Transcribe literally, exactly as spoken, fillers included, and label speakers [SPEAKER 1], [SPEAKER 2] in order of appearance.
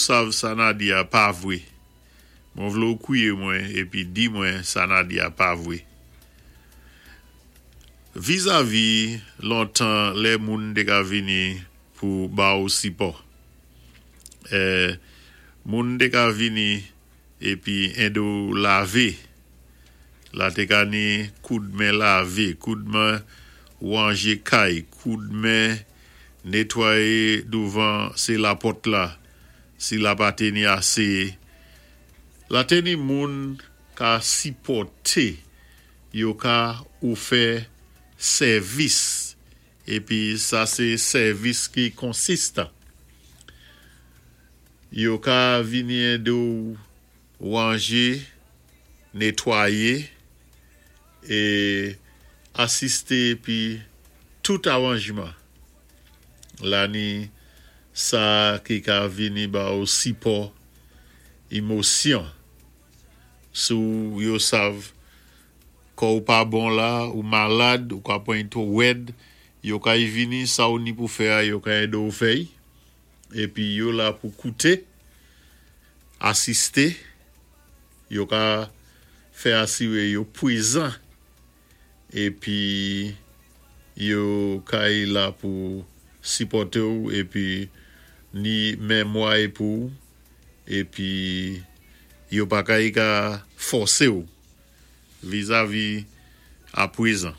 [SPEAKER 1] Sav sa na di-a pa vwé. Mwen vlé ou kwié mwen épi di mwen sa na di-a pa vwé. Vizavi lontan lè moun té ka vini pou ba ou sipò. É, moun té ka vini épi édé-w lavé. La té ka ni koud men lavé, koud men wanjé kay, koud men netwayé douvan sé lapòt la, si la pa té ni asé. La té ni moun ka sipòté, yo ka ou fè sèvis, épi sa sé sèvis ki konsistan. Yo ka vini édé-w wanjé, netwayé, é asisté épi tout awanjman. La ni sa ki ka vini ba ou sipò émosyon. Sou yo sav kò ou pa bon la, ou malad, ou ka pwan twò wèd, yo kay vini sa ou ni pou fè a, yo ka édé-w fè-y. Épi yo la pou kouté, asisté, yo ka fè asiré yo pwézan, épi yo kay la pou sipòté ou, épi ni mémway pou, épi yo pa kay ka fòsé ou vizavi a pwézan.